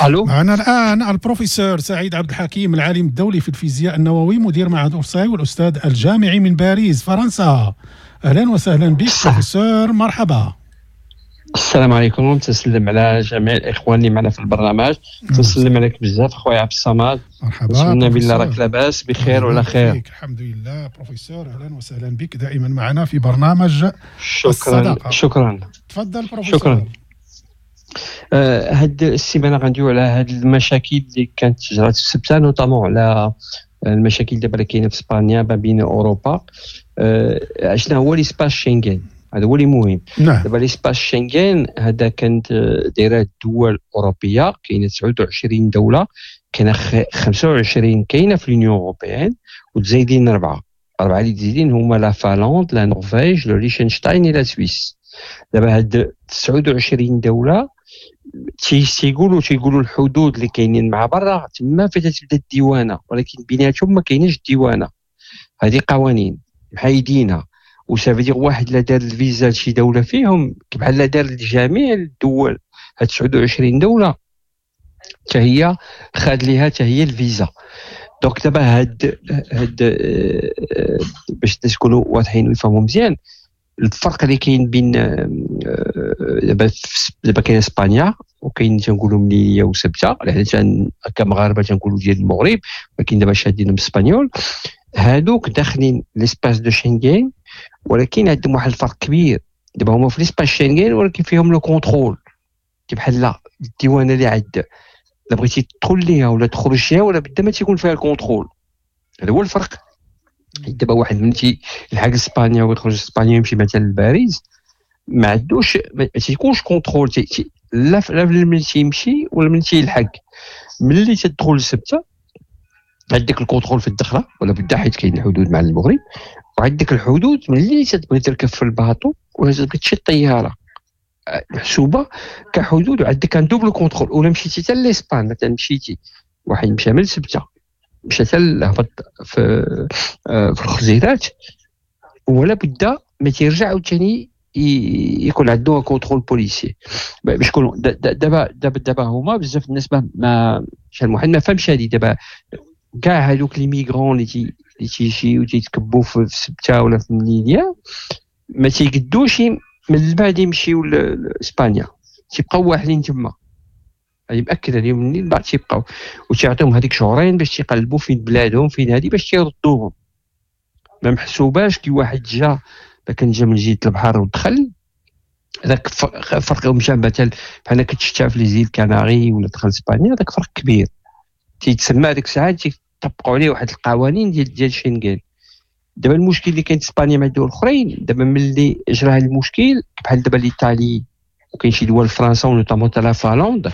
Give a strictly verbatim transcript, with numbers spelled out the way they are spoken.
الو. معنا الان البروفيسور سعيد عبد الحكيم، العالم الدولي في الفيزياء النووي، مدير معهد اورساي والاستاذ الجامعي من باريس فرنسا. اهلا وسهلا بك بروفيسور، مرحبا. السلام عليكم، تسلم على جميع الاخوان اللي معنا في البرنامج، تسلم عليك بزاف خويا عبد الصمد. مرحبا. نتمنى بالله راك لاباس بخير وعلى خير. الحمد لله بروفيسور، اهلا وسهلا بك دائما معنا في برنامج شكرا الصداقة. شكرا. تفضل بروفيسور. شكرا. آه، هاد السيمانة غندويو على هاد المشاكل اللي كانت جرات في السبته، notamment على المشاكل دابا اللي كاينه في اسبانيا ما بين اوروبا. آه، شنو هو l'espace Schengen؟ هذا هو اللي مهم. نعم دابا l'espace Schengen هذا كانت دايرة الدول الاوروبيه، كاينه تسعة وعشرين دوله، كاينه خمسة وعشرين كاينه في l'Union européenne وتزايدين اربعه، اربعة اللي تزايدين هما la Finlande، la Norvège، le Liechtenstein، la Suisse. دابا هاد تسعة وعشرين دولة تيقولوا تيقولوا الحدود اللي كاينين مع برا تما فين تبدا الديوانه، ولكن بيناتهم ما كايناش الديوانه. هذه قوانين محيدينها، و ça veut dire واحد لا دار الفيزا لشي دولة فيهم بحال لا دار لجميع الدول. هاد تسعة وعشرين دولة حتى هي خاد ليها حتى هي الفيزا. donc دابا هاد هاد آه، باش الناس يكونوا واضحين ويفهموا مزيان الفرق اللي كاين بين آه، دابا دابا كاين اسبانيا وكاين تنقولوا مليليه وسبته، لان كمغاربه تنقولوا ديال المغرب، ولكن دابا شادين espagnol. هادوك داخلين l'espace de Schengen، ولكن عندهم واحد الفرق كبير. دابا هما في l'espace Schengen ولكن فيهم le contrôle، بحال لا الديوانه اللي عند لا بغيتي تدخل ليها ولا تخرج ليها ولا بدا ما تيكون فيها ال contrôle. هذا هو الفرق. دابا واحد من تيلحق اسبانيا ويخرج اسبانيا يمشي مثلا لباريس، ما عندوش، ما تيكونش contrôle لا لا ملي تيمشي ولا ملي تيلحق. ملي تدخل لسبته عندك ال contrôle في الدخلة ولا بدا، حيت كاين الحدود مع المغرب، وعندك الحدود ملي تبغي تركب في ال bateau ولا تبغي تشي الطياره، محسوبة كحدود، وعندك un double contrôle. ولا مشيتي حتى l'Espagne مثلا، مشيتي واحد مشى من سبته مشى حتى هبط في آه، في الخزيرات، ولا بد ما تيرجع عاوتاني يكون عنده contrôle policier. باش يكونوا دابا دابا دابا هما بزاف الناس ما ما شحال واحد ما فهمش هذه. دابا كاع هذوك les migrants اللي تي اللي تيجيو تيتكبوا في سبته ولا في مليليا ما تيقدوش من بعد يمشيو لاسبانيا، تيبقاو واحدين تما. هذه مأكدة اليوم، من بعد تيبقاو وتيعطيهم هذيك شهرين باش تيقلبوا فين بلادهم فين هذه باش تيردوهم. ما محسوباش كي واحد جا كان جا من جهة البحر ودخل، هذاك فرق. مشى مثلا بحال كتشتا في les îles Canaries ولا دخل اسبانيا، هذاك فرق كبير. تيتسمى هذيك الساعة تيطبقوا عليه واحد القوانين ديال ديال شنغن. دابا المشكل اللي كاين في اسبانيا مع الدول الاخرين، دابا ملي جرى هذا المشكل بحال دابا l'Italie وكاين شي دول، فرنسا و notamment la Finlande.